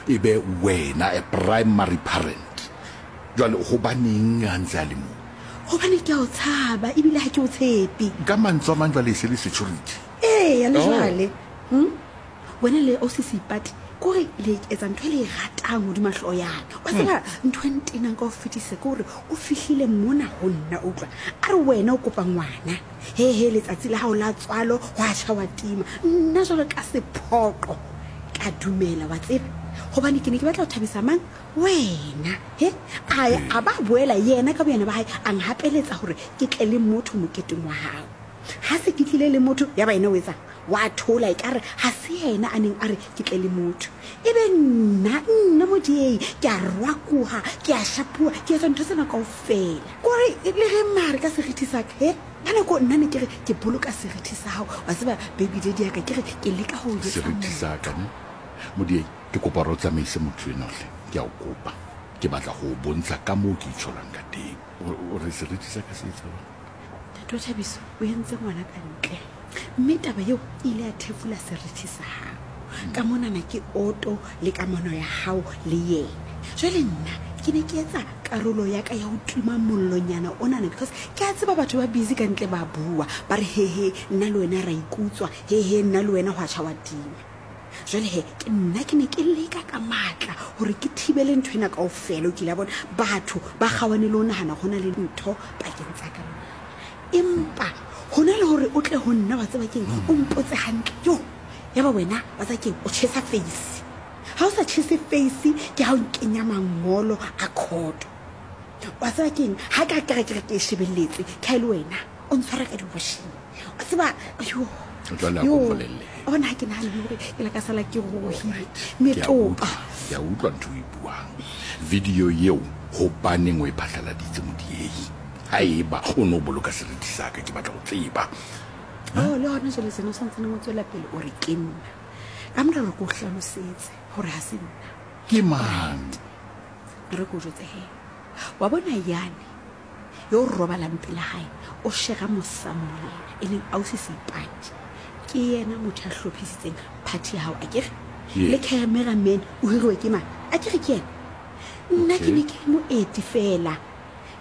e be wena a primary parent. Jwale hobaneng a ntse a le moo? Gobane ke a o tshaba ebile ga ke o tshepe. Ka mantswe a mang jwale e se le security. Eya, le jwale. Hm? Wena le ausi Seipati, kore le etsa ntho e le e ratang hodima hlooho ya ka. Wa tseba ntho e ntenang ka ho fetisa ke hore o fihlile mona ho nna, utlwa. A re wena o kopa ngwana. He he, letsatsi la hao la tswalo hwa tjha wa tima. Nna jwalo ka sephoqo ka dumela, wa tseba. Hobane ke ne ke batla ho thabisa mang? Wena. He, a ya a ba boela yena ka boyena ba hae a nhapeletsa hore ke tle le motho moketeng wa hao. Ha se ke tlile le motho, yaba yena o etsang? Wa thola, ekare ha se yena a neng a re ke tle le motho. Ebe nna, nna Modiei, ke a rwakoha, ke a shapuwa, ke etsa ntho tsena kaofela. Kore le ge mare ka serithi sa ka, he, ka nako nna ne ke re ke boloka serithi sa hao. Wa tseba, baby daddy ya ka, ke re ke leka ho o jwetsa Serithi sa ka, ne? Modiei, ke kopa hore o tsamaise motho enwa hle. Ke a o kopa. Ke batla ho o bontsha ka moo ke itsholang ka teng. O re serithi sa ka se etsa jwang? Ntate wa Thabiso o entse ngwana ka ntle, mme taba eo e ile ya thefula serithi sa hao. Ka monana ke oto le kamano ya hao le yena. Jwale nna ke ne ke etsa karolo ya ka ya ho tima mollonyana onana, because ke a tseba batho ba busy ka ntle ba bua, ba re hehe nna le wena ra ikutswa, hehe nna le wena hwa tjha wa tima. Jwale he, ke nna ke ne ke leka ka matla gore ke thibele ntho ena kaofela. O kile a bona batho ba kgawane le ho nagana go na le ntho pakeng tsa ka le wena. Empa hona le gore o tle ho nna, wa tseba keng, o mpotse hantle. Yo, ya ba wena, wa tseba keng, o tjhesa face. Ha o sa tjhese face, ke ha o nkenya mangolo a khoto. Wa tseba keng, ha ka kere ke re ke e shebelletse, ke ha e le wena o ntshwara ka di-washing. Wa tseba, yo, Jwale a yo, ko mpolelle. wa bona ha ke nahane hore ke la ka sala ke rohile Alright. Ke a metopa. utlwa, ke a utlwa ntho e buang. Video eo hobaneng o e phatlaladitse Modiehi? Haeba o no boloka seriti sa ka, ke batla ho tseba. Oh, le hona jwale sena o santsaneng o tswela pele o re ke nna. Ka mora hore ke o hlalosetse hore ha se nna. Ke mang? Re ke o jwetse he. Wa bona yane yo o robalang pela hae o shera mosamo le yena, e leng ausi Seipati. Ke yena motho ya hlophisitseng party ya hao, akere? Yeah. Le cameraman o hiriwe ke mang? Akere ke yena? Nna ke Okay. ne ke le moeti fela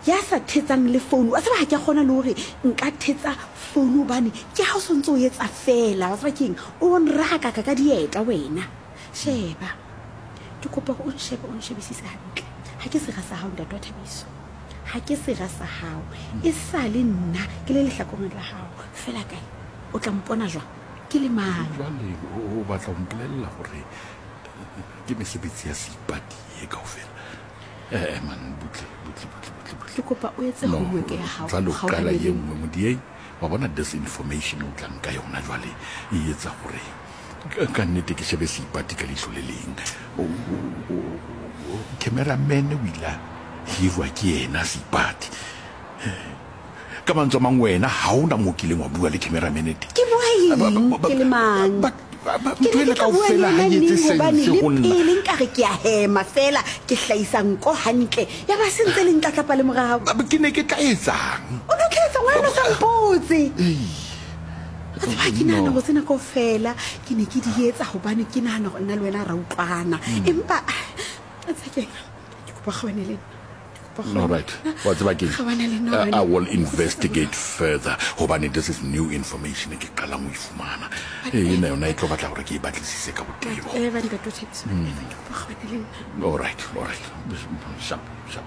ya sa thetsang le founu. Wa tseba ha ke a kgona le hore nka thetsa founu hobane ke ha o sontse o etsa fela. Wa tseba keng? O nrahakaka ka dieta wena. Sheba. Ke kopa hore o nshebe, o nshebisise hantle. Ha ke sera sa hao, ntate wa Thabiso. Ha ke sera sa hao. E sa le nna ke le lehlakoreng la hao. Fela kae? O tla mpona jwang? Ke le mang? Jwale o batla ho mpolella hore ke mesebetsi ya Seipati e kaofela? Eh, man, butle, butle, butle, butle, butle. Ke kopa o etse No, homework ya hao. jwale o qala Kgaohane ye le nna. nngwe Modiei. Wa bona this information o tlang ka yona jwale e etsa hore ka nnete ke shebe Seipati ka leihlo le leng. Cameraman o ile a hirwa ke yena Seipati. Ka mantswe a mang wena ha o na moo kileng wa bua le cameraman teng. Ke bua eng? Ke le mang? Ke Ntho ne ena ke tla bua le kaofela ha yena e etse neng hobane sense le ho nna. pele nkare ke a hema feela ke hlahisa nko hantle ya ba se ntse le ntlatlapa le morao. Ke ne ke tla etsang? O no tla etsang wena o sa mpotse? Wa tseba ha ke nahana No. hore tsena kaofela ke ne ke di etsa hobane ke nahana hore nna le wena ra utlwana. Empa Tshekeng, ke kopa kgaohane le nna. Ke kopa All right. Wa tseba keng? Kgaohane le nna hobane I will investigate further hobane this is new information e ke qalang ho e fumana. Eh, ena yona e tlo batla hore ke e batlisise ka botebo. Eva ntate o Thabiso, Eva ke kopa kgaohane le nna. All right, all right. Sharp, sharp.